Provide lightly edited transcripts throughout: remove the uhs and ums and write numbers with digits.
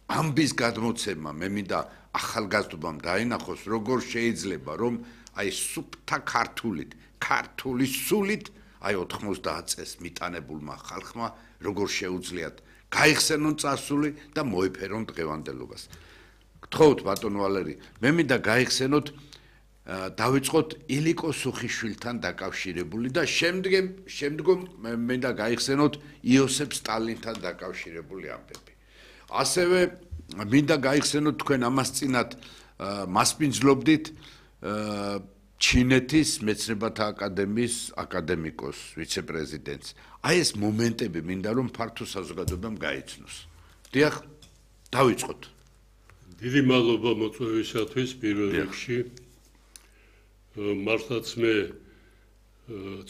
ამბის გადმოცემა მე მინდა ახალგაზრდობამ დაინახოს როგორ შეიძლება რომ აი სუფთა ქართული სულით აი 90 წელს მიტანებულმა ხალხმა როგორ შეუძლიათ გაიხსენონ წარსული და მოეფერონ დღევანდელობას. გთხოვთ ბატონო ვალერი, მე მინდა გაიხსენოთ დავიწყოთ ილიკო სუხიშვილთან დაკავშირებული და შემდგომ მე მინდა გაიხსენოთ იოსებ სტალინთან დაკავშირებული ამბები. ასევე მინდა გაიხსენოთ თქვენ ამას წინათ მასპინძლობდით ჩინეთის მეცნიერებათა აკადემიის აკადემიკოს ვიცე-პრეზიდენტს. აი ეს მომენტები მინდა რომ ფართო საზოგადოებამ გაიცნოს. დიახ, დავიწყოთ. დიდი მადლობა მოწვევისათვის პირველ რიგში. მართლაც მე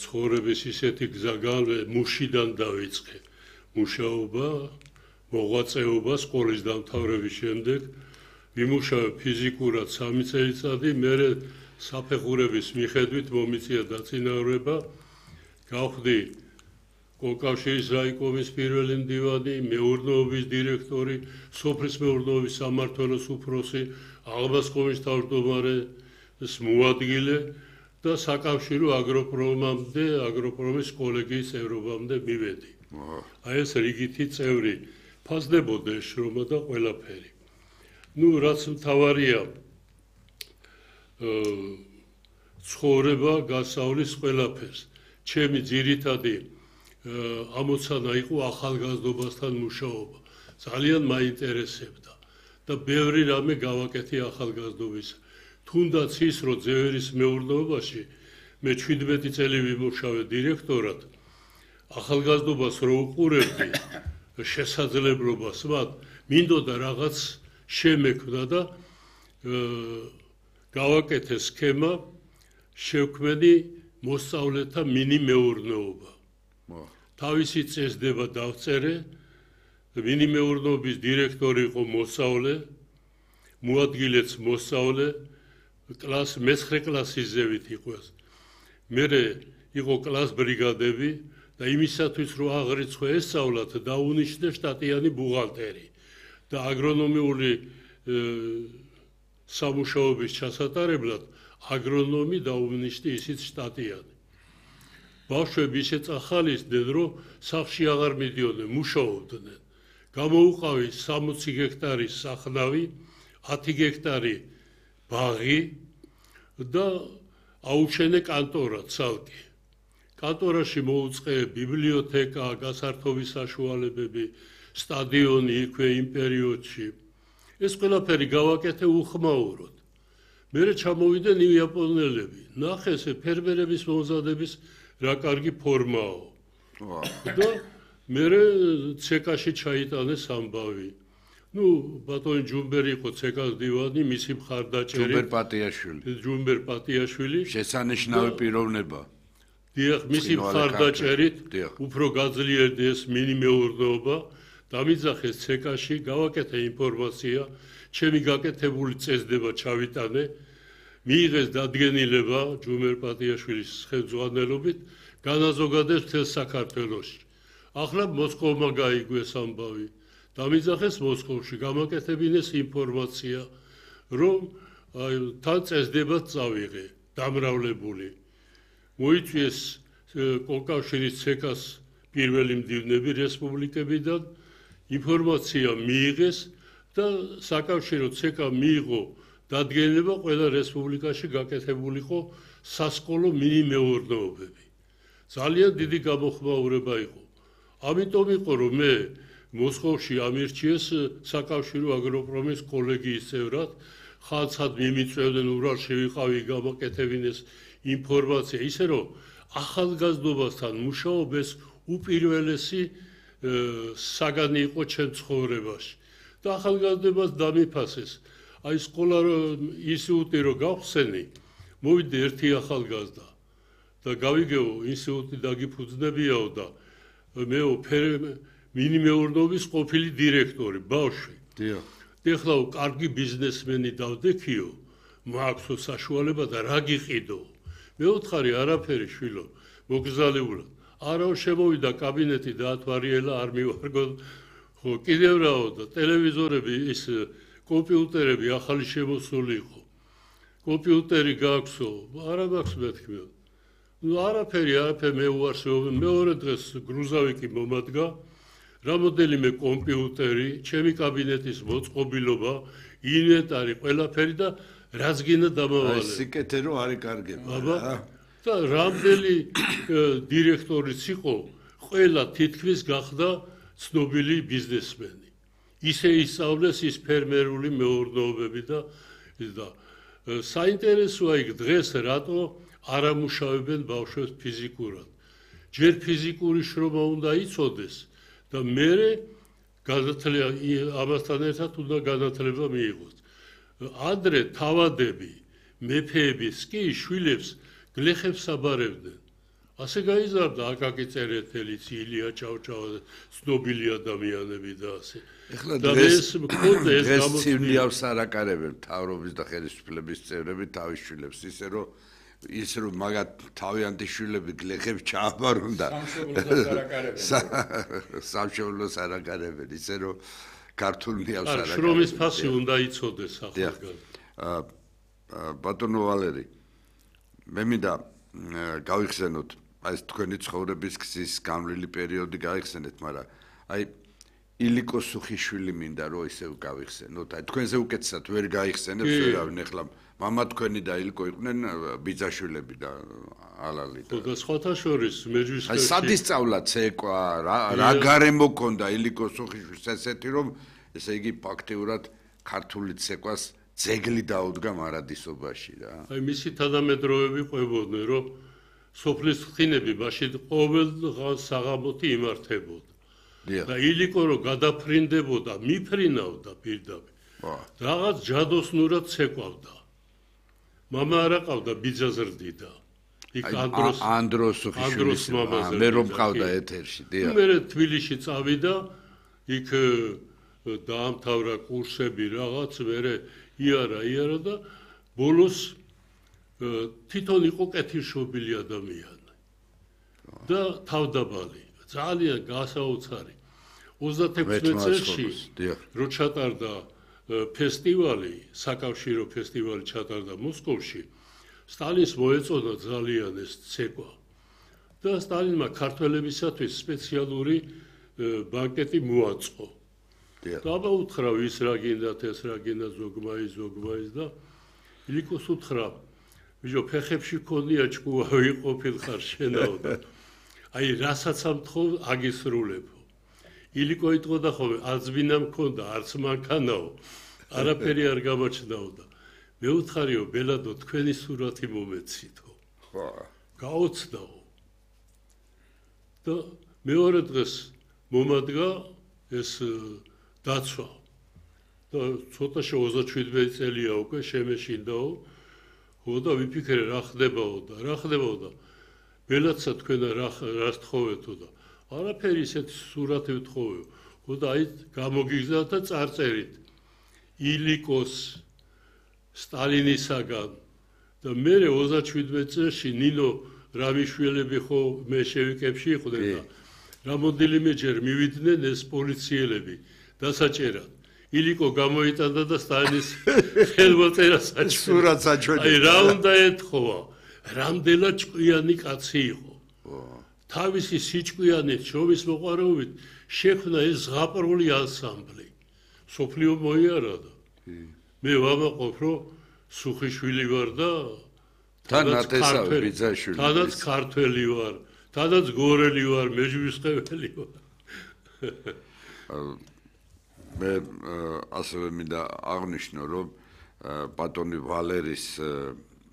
ცხოვრების ისეთი გზაგან მუშიდან დავიწყე. მუშაობა, მოღვაწეობა სკოლის დამთავრების შემდეგ ვიმუშავე ფიზიკურად 3 წელიწადი, მერე საფეხურების მიხედვით მომიწია დაწინაურება, გავხდი კავშირის რაიკომის პირველი მდივანი, მეურნეობის დირექტორი, სოფლის მეურნეობის სამმართველოს უფროსი, აღბასკოვის თავმჯდომარე, მოადგილე და საკავშირო აგროპრომამდე, აგროპრომის კოლეგიის წევრობამდე მივედი. აი ეს რიგითი წევრი ფასდებოდა შრომა და ყველაფერი. რაც მთავარია ცხოვრება გასავლის ყველაფერს. ჩემი ძირითადი ამოცანა იყო ახალგაზრდობასთან მუშაობა. ძალიან მაინტერესებდა და ბევრი რამე გავაკეთე ახალგაზრდობის. თუნდაც ის, რომ ძევერის მეურნეობაში მე 17 წელი ვიმუშავე დირექტორად, ახალგაზრდობას რო უყურებდი შესაძლებლობას, მათ მინდოდა რაღაც შემექმნა და გავაკეთე სქემა შევქმნი მოსწავლეთა მინი მეურნეობა. თავისი წესდება დავწერე, მინი მეურნეობის დირექტორი იყო მოსწავლე, მოადგილეც მოსწავლე, მე-9 კლასის ზევით იყო ეს. მერე იყო კლას ბრიგადები და იმისათვის რომ აღრიცხვა ესწავლათ, დაუნიშნე შტატიანი ბუღალტერი და აგრონომიული სამუშაოების ჩასატარებლად აგრონომი დაუნიშნე ისიც შტატიანი. ბავშვები ისე წახალისდნენ, რომ სახლში აღარ მიდიოდნენ, მუშაობდნენ. გამოუყავი 60 გექტარის სახნავი, 10 გექტარი ბაღი და აუჩენე კანტორა ცალკე. კანტორაში მოუწყე ბიბლიოთეკა, გასართობის საშუალებები, სტადიონი იქვე იმ პერიოდში. ეს ყველაფერი გავაკეთე უხმაუროდ. მერე ჩამოვიდნენ იაპონელები. ნახეს ფერმერების მომზადების რა კარგი ფორმაო. და მერე ცეკაში ჩაიტანეს ამბავი. ბატონი ჯუმბერი იყო ცეკას დივანი, მისი მხარდაჭერი. ჯუმბერ პატიაშვილი. შესანიშნავი პიროვნება. დიახ, მისი მხარდაჭერით უფრო გაძლიერდა ეს მინი მეურნეობა. დამიძახეს ცეკაში, გავაკეთე ინფორმაცია, ჩემი გაკეთებული წესდება ჩავიტანე, მიიღეს დადგენილება ჯუმბერ პატიაშვილის ხელმძღვანელობით, განაზოგადეს მთელ საქართველოში. ახლა მოსკოვმა გაიგეს ამბავი. დამიძახეს მოსკოვში, გამაკეთებინეს ინფორმაცია, რომ თან წესდებად წავიღე, დამრავლებული. მოიწვიეს კავშირის ცეკას პირველი მდივნები რესპუბლიკებიდან, ინფორმაცია მიიღეს და საკავშირო ცეკა მიიღო დადგენილება ყველა რესპუბლიკაში გაკეთებულიყო სასკოლო მინი მეურნეობები. ძალიან დიდი გამოხმაურება იყო. ამიტომ იყო რომ მე მოსკოვში ამირჩიეს საკავშირო აგროპრომის კოლეგიის წევრად, ხალხად მიმიწვევდნენ ურალში ვიყავი გამაკეთებინეს ინფორმაცია, ისე რომ ახალგაზრდობასთან მუშაობა უპირველესი საგანი იყო ჩემ ცხოვრებაში. და ახალგაზრდობას დამიფასეს. აი სკოლა ინსტიტუტი რო გავხსენი, მოვიდა ერთი ახალგაზრდა და გავიგეო ინსტიტუტი დაგიფუძნებიაო და მეო მინი მეურნეობის ყოფილი დირექტორი, ბავშვი. ეხლა კარგი ბიზნესმენი დავდექიო, მაქვსო საშუალება და რა გიყიდო. მეოთხარი არაფერი შვილო, მოგზაურებულად. არავ შემოვიდა კაბინეტი დაათვალიერა, არ მივარგო ხო, კიდევ რაო და ტელევიზორები ის კომპიუტერები ახალი შემოსული იყო. კომპიუტერი გააქვსო, არა მაქვს მეთქმე. ნუ არაფერი მე უარსებობ, მეორე დღეს გრუზავიკი მომადგა, რამოდენიმე კომპიუტერი, ჩემი კაბინეტის მოწყობილობა, ინვენტარი, ყველაფერი და რაც გინდა დამავალე. სიკეთე რო არის კარგება რა. და რამდენი დირექტორიც იყო, ყველა თითქმის გახდა ცნობილი ბიზნესმენი. ისე ისწავლეს ის ფერმერული მეურნეობები და საინტერესოა იქ დღეს რატო არ ამუშავებენ ბავშვებს ფიზიკურად. ჯერ ფიზიკური შრომა უნდა იცოდეს და მერე ამასთან ერთად უნდა განათლება მიიღოს. ადრე თავადები, მეფეების კი შვილებს გლეხებს აბარებდნენ. ასე გაიზარდა აკაკი წერეთელიც, ილია ჭავჭავა, ცნობილი ადამიანები და ასე. ეხლა დღეს ცივნიავს არაკარებენ მთავრობის და ხელისუფლების წევრები თავის შვილებს, ისე რომ მაგათ თავიანთი შვილები გლეხებს ჩააბარონ და სამშობლოს არაკარებენ, ისე რომ ქართულ ნიავს არაკარებენ. შრომის ფასი უნდა იცოდეს ახალგაზრდა. ბატონო ვალერი, მე მინდა გავიხსენოთ ეს თქვენი ცხოვრების გზის გამრილი პერიოდი გაიხსენეთ, მაგრამ აი ილიკო სუხიშვილი მინდა რომ ისევ გავიხსენოთ. აი თქვენზე უკეთესად ვერ გაიხსენებს ვერავინ. ეხლა მამა თქვენი და ილიკო იყვნენ ბიძაშვილები და ალალი და და სხვათა შორის მეჯვისხევში. აი სად ისწავლა ცეკვა, რა გარემო ქონდა ილიკო სუხიშვილს ესეთი რომ ესე იგი ფაქტიურად ქართული ცეკვას ძეგლი დაუდგა მარადისობაში რა. აი მისი თანამედროვეები ყვებოდნენ რომ სოფლის ხინები მაშინ ყოველ საღამოთი იმართებოდა. და ილიკო რომ გადაფრინდებოდა, მიფრინავდა პირდაპირ. რაღაც ჯადოსნურად ცეკვავდა. მამა არ აყავდა, ბიძა ზრდიდა. იქ ანდროს სუხიშვილის მე რომ ყავდა ეთერში, დიახ. მე თბილისში წავიდა, იქ დაამთავრა კურსები რაღაც, მე იარა და ბოლოს თვითონ იყო კეთილშობილი ადამიანი. და თავდაბალი, ძალიან გასაოცარი. 36 წელში რო ჩატარდა ფესტივალი, საკავშირო ფესტივალი ჩატარდა მოსკოვში, სტალინს მოეწონა ძალიან ეს ცეკვა. და სტალინმა ქართველებისათვის სპეციალური ბანკეტი მოაწყო. დააუთხრა ვის რა გინდათ, ეს რა გინდა, ზოგმაის და ილიკოს უთხრა, ბიჭო, ფეხებში ქონია ჭკუა, ვიყოფილ ხარ შენაო და აი რასაც ამთხოვ აგისრულებო. ილიკო იტყოდა ხოლმე, არც ბინა მქონდა, არც მანქანაო, არაფერი არ გამაჩნდაო და მე უთხარიო, ბელადო, თქვენი სურათი მომეცითო. ხო. გაოცდაო. და მეორე დღეს მომადგა ეს დაცვა. და ცოტა 37 წელია უკვე შემეშინდაო. ხო და ვიფიქრე რა ხდებაო და ბელადსა თქვენ რას თხოვეთო და არაფერი ისეთი სურათი ვთხოვეო. ხო და აი გამოგიგზავთ და წარწერით. ილიკოს სტალინისაგან და მე 37 წელში ნინო რამიშვილები ხო მე შევიკებში იყვნენ და რამოდენიმეჯერ მივიდნენ ეს პოლიციელები დასაჭერად. ილიკო გამოიტანდა და სტალინის ხელმოწერას სურათს აჩვენე. აი რა უნდა ეთხოვა? რამდენად ჭკვიანი კაცი იყო. თავისი სიჭკვიანით, შრომის მოყვარეობით შექმნა ეს ზღაპრული ანსამბლი. სოფლიო მოიარადა. მე ვამაყობ, რომ სუხიშვილი ვარ და თანათესავე ბიძაშვილი. თანაც ქართველი ვარ, თანაც გორელი ვარ, მეჯვისხეველი ვარ. მე ასევე მინდა აღნიშნო, რომ ბატონი ვალერის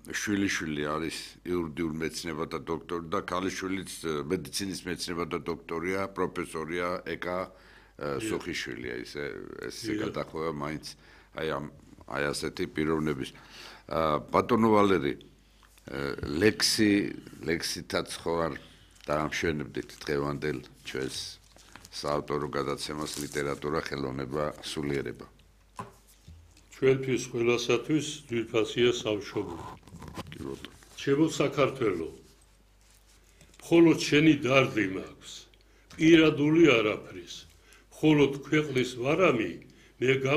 შვილიშვილი არის იურიდიულ მეცნიერებათა დოქტორი და ქალიშვილიც მედიცინის მეცნიერებათა დოქტორია, პროფესორია ეკა სუხიშვილია, ესე გადახვევა მაინც აი ასეთი პიროვნების. ბატონო ვალერი, ლექსითაც ხო არ დაამშვენებდით დღევანდელ ჩვენს საავტორო გადაცემას ლიტერატურა, ხელოვნება, სულიერება. ჩვენთვის ყველასათვის ძვირფასია სამშობლო. ჩემო საქართველო, მხოლოდ შენი დარდი მაქვს, პირადული არაფრის, მხოლოდ ქვეყნის ვარამი, მე